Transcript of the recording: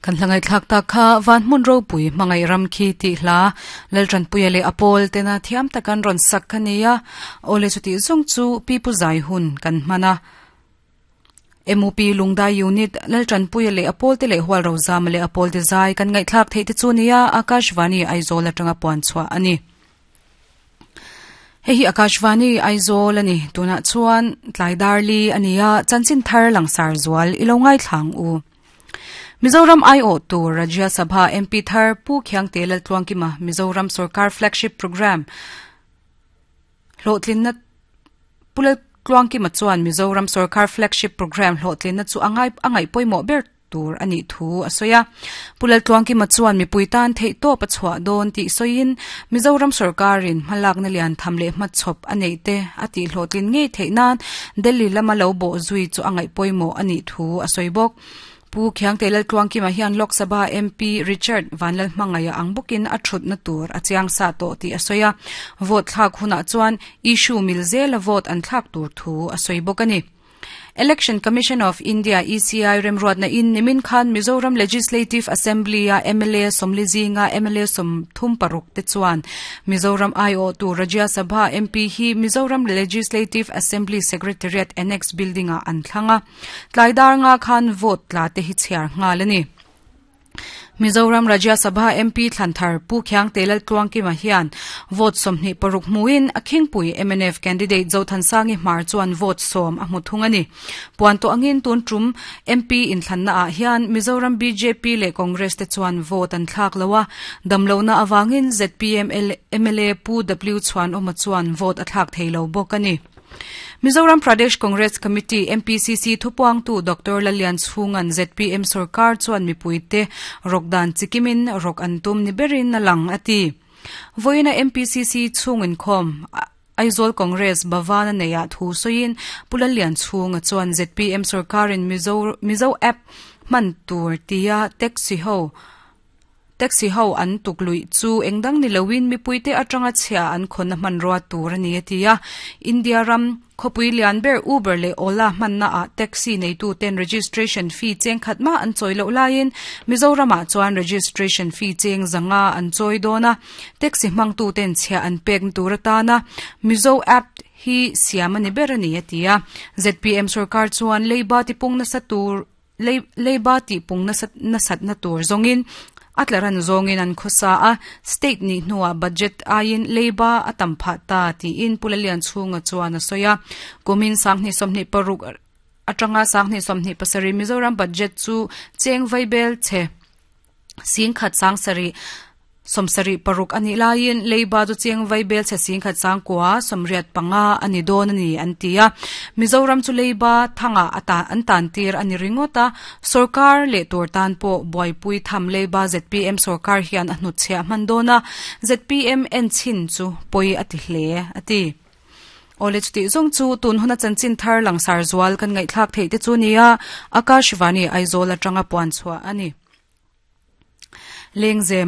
Kan hla ngaihthlak tak kha Van hmun ropui hmangaih ram khi tih hla Laltanpuia leh a pawl tena thiam tak an rawn sak kha nia. Awle chutih zawng chu Pi Pu Zai hun kan hman a. MUP Lungdai Unit Laltanpuia leh a pawl te leh Hual Rozama leh a pawl te zai kan ngaihthlak theih te chu nia Akashvani Aizawl atanga puan chhuah a ni. Hei hi Akashvani Aizawl a ni. Tunah chuan tlai darli a ni a, chanchin thar langsar zual i lo ngaithlang u. Mizoram aiawh tur Rajya Sabha MP thar Pu Khiangte Laltluangkima Mizoram Sorkar Flagship Programme hlawhtlinna Pu Laltluangkima chuan Mizoram Sorkar Flagship Programme hlawhtlinna chu a ngai a ngaih pawimawh ber tur a nih thu a sawi a. Pu Laltluangkima chuan mipui tan theihtawp a chhuah dawn tih sawiin Mizoram sorkarin hmalakna lian tham leh hmachhawp a neih te a tihhlawhtlin ngei theih nan Delhi lama lo bawh zui chu a ngaih pawimawh a nih thu a sawi bawk. Pu Khiangte Laltluangkima hian Lok Sabha MP Richard Vanlalhmangaia ang bawkin a thutna tur a chiang sa tawh tih a sawi a. Vote thlak hunah chuan issue mil zela vote an thlak tur thu a sawi bawk a ni. Election Commission of India, ECI, remruatna in nimin khan Mizoram Legislative Assembly a mla sawmli zinga mla 36 te chuan Mizoram aiawhtu Rajya Sabha MP hi Mizoram Legislative Assembly Secretariat Annex Building ah an thlang a. Tlai dar nga khan vote tla te hi chhiar nghal a ni. Mizoram Rajya Sabha MP thlan thar Pu Khiangte Laltluangkima hian vote 26 hmuin a khingpui mnf candidate Zothansangi Hmar chuan vote 10 a hmu thung a ni. Puan tawh angin tun tum MP inthlanna ah hian Mizoram bjp leh Congress te chuan vote an thlak lo a, damlohna avangin zpm mla Pu W Chhuanawma chuan vote a thlak thei lo bawk a ni. Mizoram Pradesh Congress Committee, MPCC, thupuangtu Doctor Lallianchhunga'n zpm sorkar chuan mipuite rawk dan chikimin rawk an tum ni berin a lang a ti. Vawiina MPCC chhung inkhawm Aizawl Congress Bhavan a neihah thu sawiin Pu Lallianchhunga chuan zpm sorkarin Mizo Mizo App hman tur tia taxi ho Taxi ho an tuk luih chu engdang ni loin mipuite atanga chhia an khawnna hmanrua tur a ni a ti a. India ram khawpui lian ber Uber leh Ola hmanna ah taxi neitu ten registration fee cheng khat mah an chawi loh laiin Mizoramah chuan registration fee cheng 500 an chawi dawn a. Taxi hmangtu ten chhia an pekna tur atana Mizo app hi siam a ni ber a ni a ti a. Zpm sorkar chuan leiba tipung nasa tur Leiba tihpung nasatna tur zawngin a tlaran zawngin an khawsa a, state nih hnuah budget aiin leiba a tam phah ta tiin Pu Lalianchhunga chuan a sawi a. Kumin 2026 atanga 2027 Mizoram budget chu cheng vaibel chhe 10,000 sang sarih 76 a nih laiin leiba chu cheng vaibel chhe 10,000 sang kua 85 a ni dawn a ni an ti a. Mizoram chu leiba thangah a ta an tan tir a ni ringawt a, sorkar leh tur tan pawh buaipui tham leiba zpm sorkar hian a hnutchhiah hman dawn a, zpm en chhin chu pawi a ti hle a ti. Awle chutih zawng chu tun huna chanchin thar langsar zual kan ngaihthlak theih te chu nia Akashvani Aizawl atanga puan chhuah a ni. Lengzem.